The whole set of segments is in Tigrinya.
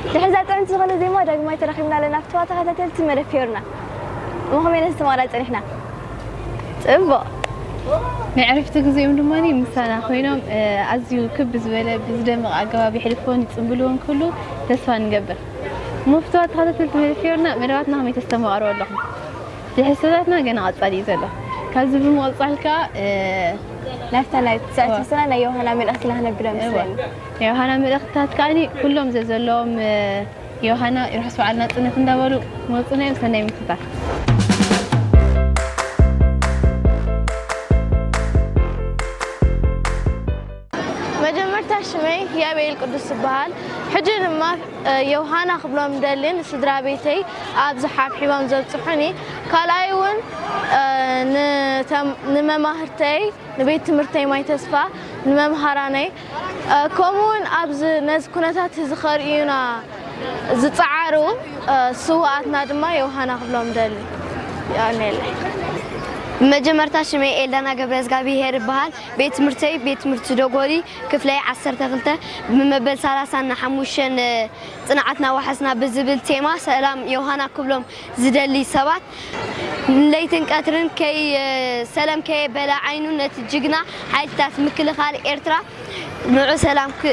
ድሕሪ እዛ ጥዕምቲ ዝኾነ ዜማ ዳግማይ ተራኺብና ኣለና። ፍትዋ ተኸታተልቲ መደብ ፊዮርና፣ እሞ ከመይ ነስተማቕራ ጸኒሕና? ጽቡቕ። ናይ ዕረፍቲ ግዜኦም ድማ ምሳና ኮይኖም፣ እ፣ ኣዝዩ ክብ ዝበለ ብዝደምቕ ኣገባብ የሕልፍዎን ይጽንብልዎን ክህሉ ተስፋ ንገብር። እሞ ፍትዋ ተኸታተልቲ መደብ ፊዮርና፣ መደባትና ከመይ ተስተማቕርዎ ኣለኹም? ትሕዝቶታትና ገና ቀጻሊ እዩ ዘሎ። ካብዚ ብምቕጻል ከኣ፣ እ፣ ናብታ ናይ ትስዕቲ ዋ። ስና ናይ ዮሃና መልእኽትና ክነብር እዋ። መስለኒ። ናይ ዮሃና መልእኽትታት ከኣኒ ኩሎም ዘዘለዎም፣ እ፣ ዮሃና ይርሕስ በዓል ናጽነት እንዳበሉ መጹና እዮም። ሰናይ ምክትታል። መጀመርታ ሽመይ ያቤል ቅዱስ ይበሃል። ሕጂ ድማ፣ እ፣ ዮሃና ክብሎም ደልን ስድራ ቤተይ ኣብዚ ሓብሒቦም ዘብጽሑኒ። ካልኣይ እውን፣ እ፣ ንተም-፣ ንመማህርተይ፣ ንቤት ትምህርተይ ማይ ተስፋ፣ ንመምሃራነይ፣ እ፣ ከምኡ እውን ኣብዚ ነዚ ኩነታት እዚ ከርእዩና ዝጸዓሩ፣ እ፣ ስውኣትና ድማ ዮሃና ክብሎም ደሊ። የቐንየለይ። መጀመርታ ሽመይ ኤልዳና ገብረ እግዚኣብሄር ይበሃል። ቤት ትምህርተይ ቤት ትምህርቲ ዶጎሊ፣ ክፍለይ ዓሰርተ ክልተ፣ ብመበል ሰላሳን ሓሙሽተን ጽንዓትና ዋሕስና ብዝብል ቴማ ሰላም ዮሃና ክብሎም ዝደሊ ሰባት፣ ለይትን ቀትርን ከይ-፣ ሰላም ከየበለ ዓይኑ ነቲ ጅግና ሓይልታት ምክልኻል ኤርትራ ንዑ ሰላም ክ-፣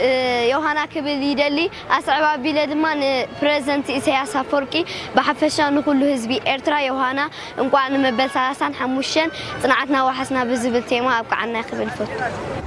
ዮሃና ክብል ይደሊ። ኣስዕብ ኣቢለ ድማ ንፕረዚደንት ኢሳያስ ኣፈወርቂ፣ ብሓፈሻ ንኹሉ ህዝቢ ኤርትራ ዮሃና እንቋዕ ንመበል ሰላሳን ሓሙሽተን ጽንዓትና ዋሕስና ብዝብል ቴማ ኣብቅዓና ክብል እፈቱ።